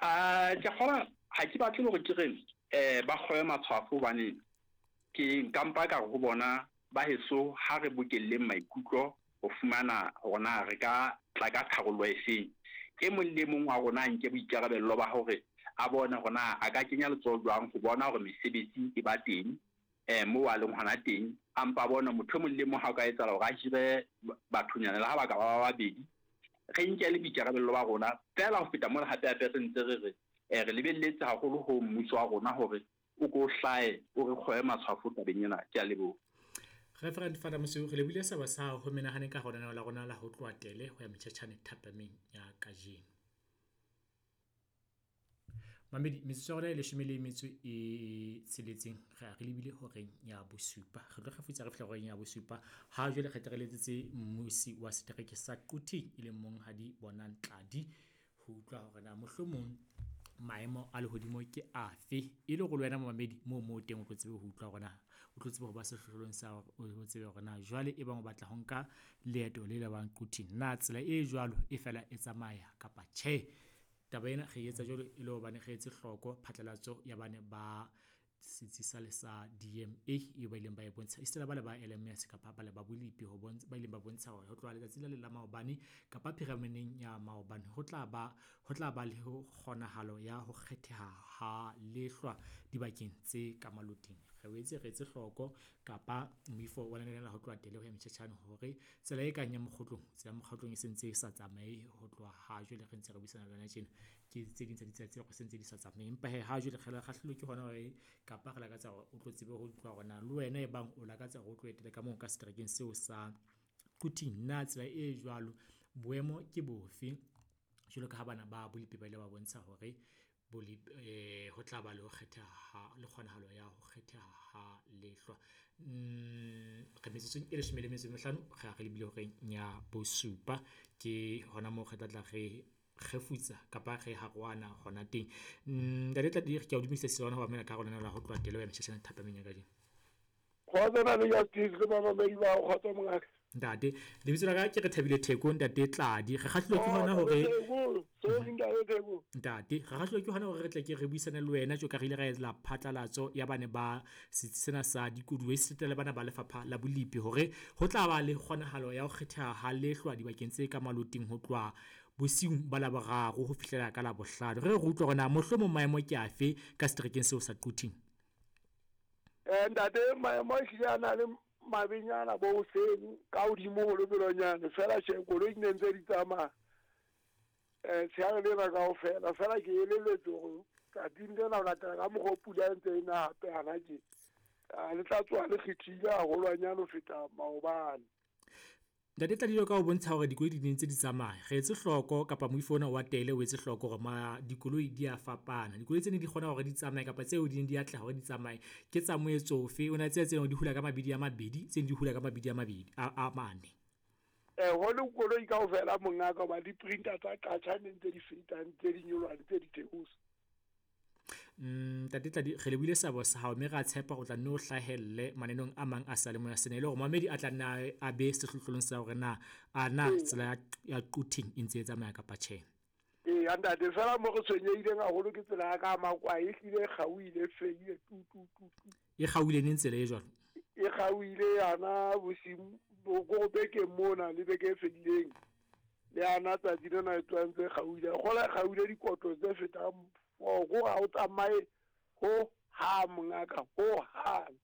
A ke kgola ha ke batle hore ke re ba kgobe matshwafo hobane ke nka mpa ka re ho bona ba heso ha re bokelleng maikutlo ho fumana hore na re ka tla ka tharollo e feng. E mong le e mong wa rona a nke boikarabello ba hore a bone hore na a ka kenya letsoho jwang ho bona hore mesebetsi e ba teng moo a leng hona teng. A mpa bone motho e mong le e mong ha o ka etsahala hore a hire bathonyana le ha ba ka ba ba babedi, re nke le boikarabello ba rona. Feela ho feta mona hape hape re ntse re re re lebelletse haholo ho mmuso wa rona hore o ko hlahe o re kgobe matshwafo tabeng ena. Ke a leboha. Reverend Father Mosiu, re lebohile sebo sa hao ho menahane ka ho lenaneo la rona la ho tloha tele ho ya metjhetjhane thapameng ya kajeno. Mamedi, metsotso ya rona e leshome le metso e tsheletseng re a re lebile horeng ya bosupa. Re tlo kgefutsa re fihla horeng ya bosupa. Ha jwale re tle re letsetse mmusi wa setereke sa Quthing e leng Monghadi Bonang Tladi ho utlwa hore na mohlomong maemo a lehodimo ke afe e le hore le wena momamedi moo moo teng o tlo tsebe ho utlwa hore na o tlo tsebe ho ba sehlohlolong sa hore o tsebe hore na jwale e bang o batla ho nka leeto le lebang Quthing na tsela e jwalo e fela e tsamaya kapa tjhe. Taba ena re etsa jwalo e le hobane re etse hloko phatlalatso ya bane ba setsi sa le sa DMA eo ba ileng ba e bontsha esita le ba le ba LMS kapa ba le ba bolipi ho bontsha ba ileng ba bontsha hore ho tloha letsatsi la le la maobane kapa phirameneng ya maobane ho tla ba ho tla ba le ho kgonahalo ya ho kgetheha ha lehlwa dibakeng tse ka maloting. Re boetse re etse hloko kapa moifo wa lenaneo la ho tloha tele ho ya metjhetjhane hore tsela e kang ya Mokgotlong, tsela ya Mokgotlong e sentse e sa tsamaye ho tloha ha jwale re ntse re buisana le wena tjena. Ke tse ding tsa ditsela tse se ntse di sa tsamaye. Empa hee ha jwale re kgahlilwe ke hona hore kapa re lakatsa hore o tlo tsebe ho utlwa hore na le wena e bang o lakatsa hore o tlo etele ka moo ka seterekeng seo sa Quthing, na tsela e jwalo boemo ke bofe? Jwalo ka ha bana ba bolipi ba ile ba bontsha hore ho tla ba le ho kgetheha le kgonahalo ya ho kgetheha ha lehlwa. Re metsotsong e leshome le metso e mehlano re a re lebile horeng ya bosupa. Ke hona moo re tla tla re kgefutsa kapa re harohana hona teng. Ntate Tladi, ke a o dumedisa ho mamela ka hare ho lenaneo la ho tloha tele ho ya metjhetjhane thapameng ya kajeno. Kgotso na le Justice le bamamedi ba hao, kgotso mongaka. Ntate, lebitso la ka ke re Thabile Theko, ntate Tladi. Re kgahlilwe ke hona hore Sorry ntate Theko. Ntate, re kgahlilwe ke hona hore re tle ke re buisane le wena tjo ka re ile ra etsa phatlalatso ya bane ba setsi sena sa dikoduwa esita le bana ba lefapha la bolipi hore ho tla ba le kgonahalo ya ho kgetheha ha lehlwa dibakeng tse ka maloting ho tloha bosiung ba Laboraro ho fihlela ka Labohlano. Re re utlwe hore na mohlomong maemo ke afe ka seterekeng seo sa Quthing. Ntate, maemo a hlile a na le mabenyana bo hoseng ka hodimo ho lebelonyane fela tjhe koloi di ne ntse di tsamaya tsheare lena kaofela. Fela ke elelletswe hore tsatsing lena ho latela ka mokgwa o pula e ntse e na hape hana tje, le tla tsoha le kgethile haholwanyane ho feta maobane. Ntate Tladilo ka ho bontsha hore dikoloi di ne ntse di tsamaya, re etse hloko kapa moifo ona wa tele o etse hloko hore ma dikoloi di a fapana. Dikoloi tse ne di kgona hore di tsamaye kapa tseo di neng di atleha hore di tsamaye ke tsa moetso ofe? O na tseba tse di hula ka mabidi a mabedi, tse di hula ka mabidi a mabedi a mane. Ho le koloi kaofela mongaka, hoba di-printer tsa qatjha ne ntse di feta, ntse di nyoloha, ntse di theosa. Ntate Tladi, re lebohile seabo sa hao mme re a tshepa o tla nne o hlahelle mananeng a mang a seyalemoya sena e le hore mamedi a tla nna a be sehlohlolong sa hore na a na tsela ya Quthing e ntse e tsamaya kapa tjhe. Eya ntate, fela mo re tshwenyehileng haholo ke tsela ya ka Makwae, e hlile e kgaohile, e fedile tu tu tu tu. E kgaohile neng tsela e jwalo? E kgaohile yana bosiu bo bekeng mona le beke e fedileng. Le yana tsatsi lena e tloha ntse e kgaohile. Kgola e kgaohile dikotlo tse fetang 4, kore ha o tsamaye ho hang mongaka, ho hang.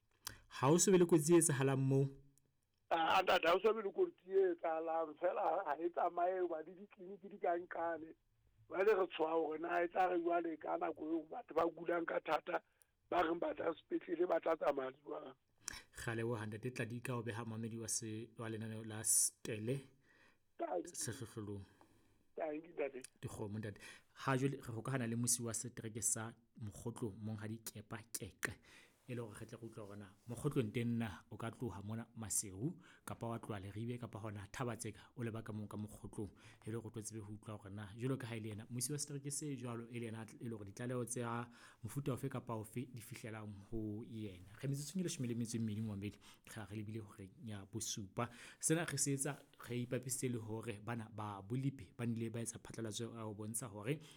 Ha o so be le kotsi e etsahalang moo? Ah, ntate, ha o so be le kotsi e etsahalang, fela ha e tsamaye hoba le ditleliniki di ka nqane. Jwale re tshoha hore na e tla re jwale ka nako eo batho ba kulang ka thata ba reng ba tla sepetlele ba tla tsamaya jwang. Re a leboha ntate Tladi ka ho beha mamedi wa se wa lenaneo la Stele sehlohlolong. Dikgomo ntate. Ha jwale re hokahana le musi wa setereke sa Mokgotlong Monghadi Kepa Keqe e le hore re tle re utlwe hore na Mokgotlong teng na o ka tloha mona Maseru kapa wa tloha Leribe kapa hona Thabatseka o leba ka moo ka Mokgotlong e le hore o tlo tsebe ho utlwa hore na jwalo ka ha e le yena musi wa setereke se jwalo e le yena e le hore ditlaleho tsa mofuta ofe kapa ofe di fihlelang ho yena. Re metsotsong e leshome le metso e mmedi momamedi re re lebile horeng ya bosupa. Sena re se etsa re ipapisitse le hore bana ba bolipi ba nile ba etsa phatlalatso ya ho bontsha hore